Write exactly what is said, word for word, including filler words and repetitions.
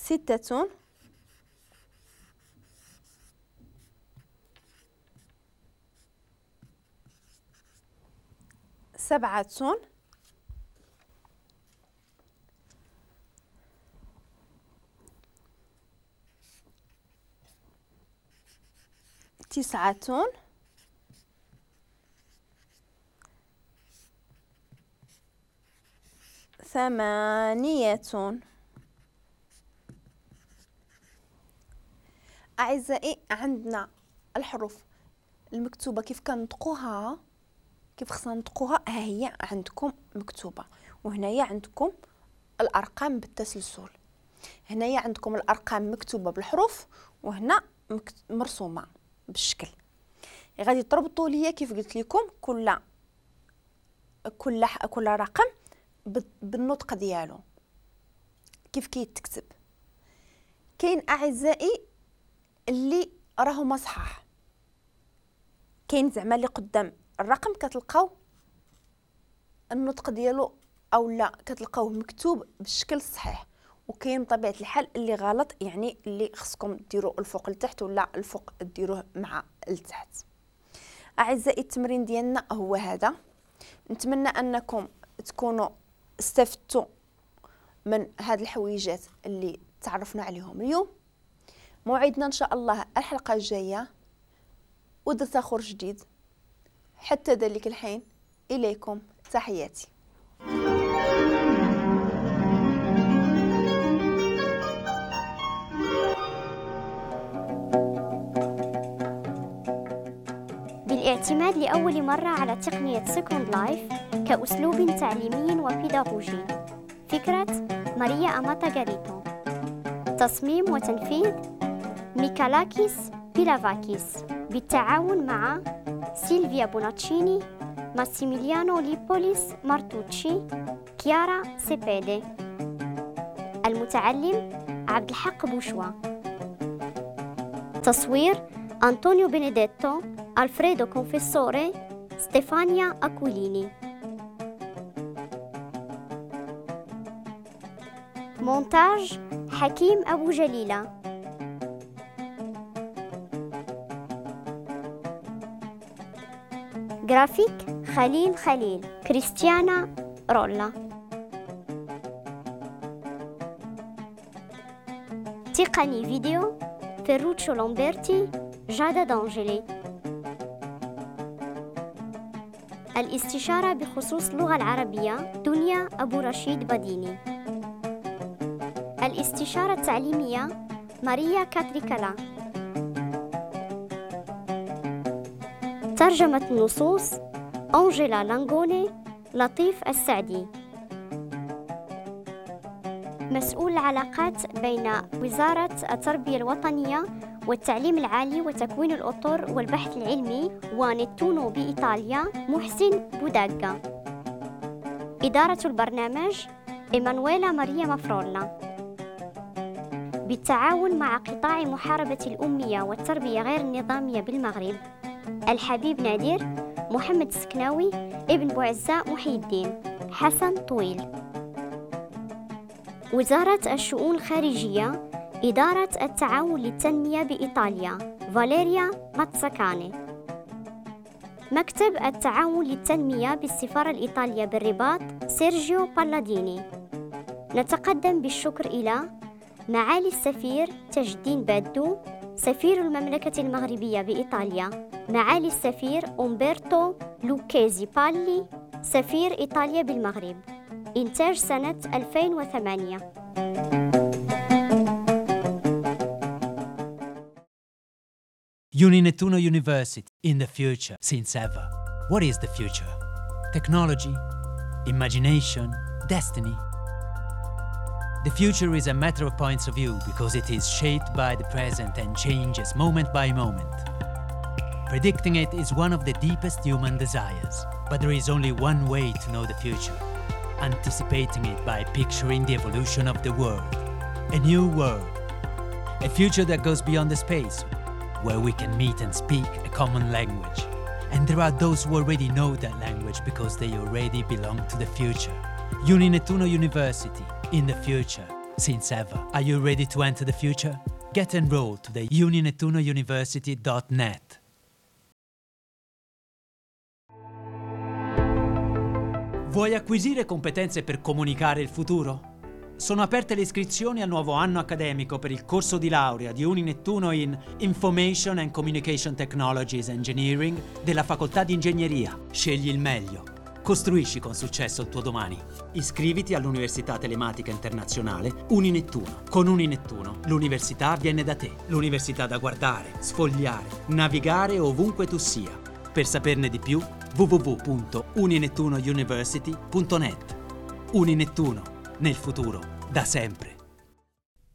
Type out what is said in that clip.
ستة، سبعة، تسعة، ثمانية. أعزائي عندنا الحروف المكتوبة كيف كنطقوها، كيف خصنا نطقوها، ها هي عندكم مكتوبة، وهنايا عندكم الأرقام بالتسلسل. هنايا عندكم الأرقام مكتوبة بالحروف وهنا مرسومة بالشكل. غادي تربطوا ليا كيف قلت لكم كل كل كل رقم بالنطق ديالو كيف كيتكتب. كاين أعزائي اللي راهما صحاح، كاين زعما اللي قدام الرقم كتلقاو النطق ديالو او لا كتلقاوه مكتوب بالشكل الصحيح، وكاين بطبيعة الحال اللي غلط، يعني اللي خصكم ديروا الفوق لتحت ولا الفوق ديروه مع التحت. اعزائي التمرين ديالنا هو هذا، نتمنى انكم تكونوا استفدتوا من هاد الحويجات اللي تعرفنا عليهم اليوم. موعدنا ان شاء الله الحلقة الجاية ودرس اخر جديد. حتى ذلك الحين اليكم تحياتي. بالاعتماد لأول مرة على تقنية Second Life كأسلوب تعليمي وبيداغوجي. فكرة ماريا أماتا غاريتو. تصميم وتنفيذ ميكالاكيس بيلافاكيس بالتعاون مع سيلفيا بوناتشيني، ماسيميليانو ليبوليس مارتوتشي، كيارا سيبيدي. المتعلم عبد الحق بوشوا. تصوير أنطونيو بينيديتو، ألفريدو كونفيسوري، ستيفانيا أكوليني. مونتاج حكيم أبو جليلة. جرافيك خليل خليل، كريستيانا رولا. تقني فيديو فيروتشو لامبرتي، جادا دانجيلي. الاستشارة بخصوص اللغة العربية دنيا أبو رشيد بديني. الاستشارة التعليمية ماريا كاتريكالا. ترجمة النصوص أنجيلا لانغوني، لطيف السعدي. مسؤول العلاقات بين وزارة التربية الوطنية والتعليم العالي وتكوين الأطر والبحث العلمي ونتونو بإيطاليا محسن بوداغا. إدارة البرنامج إيمانويلا ماريا مافرولا. بالتعاون مع قطاع محاربة الأمية والتربية غير النظامية بالمغرب، الحبيب نادر، محمد السكناوي، ابن بوعزة محي الدين، حسن طويل. وزارة الشؤون الخارجية، إدارة التعاون للتنمية بإيطاليا، فاليريا ماتساكاني. مكتب التعاون للتنمية بالسفارة الإيطالية بالرباط، سيرجيو بالاديني. نتقدم بالشكر إلى معالي السفير تاج الدين بادو، سفير المملكة المغربية بإيطاليا، معالي السفير أومبرتو لوكيزي بالي، سفير إيطاليا بالمغرب. إنتاج سنة ألفين وثمانية. Uninettuno University, in the future, since ever. What is the future? Technology, imagination, destiny. The future is a matter of points of view because it is shaped by the present and changes moment by moment. Predicting it is one of the deepest human desires, but there is only one way to know the future. Anticipating it by picturing the evolution of the world. A new world. A future that goes beyond the space, where we can meet and speak a common language. And there are those who already know that language because they already belong to the future. Uninettuno University, in the future, Since ever. Are you ready to enter the future? Get enrolled to the uninettuno university dot net. Vuoi acquisire competenze per comunicare il futuro? Sono aperte le iscrizioni al nuovo anno accademico per il corso di laurea di Uninettuno in Information and Communication Technologies Engineering della Facoltà di Ingegneria. Scegli il meglio. Costruisci con successo il tuo domani. Iscriviti all'Università Telematica Internazionale Uninettuno. Con Uninettuno l'università viene da te. L'università da guardare, sfogliare, navigare ovunque tu sia. Per saperne di più, w w w punto uninettuno university punto net. Uninettuno, nel futuro, da sempre.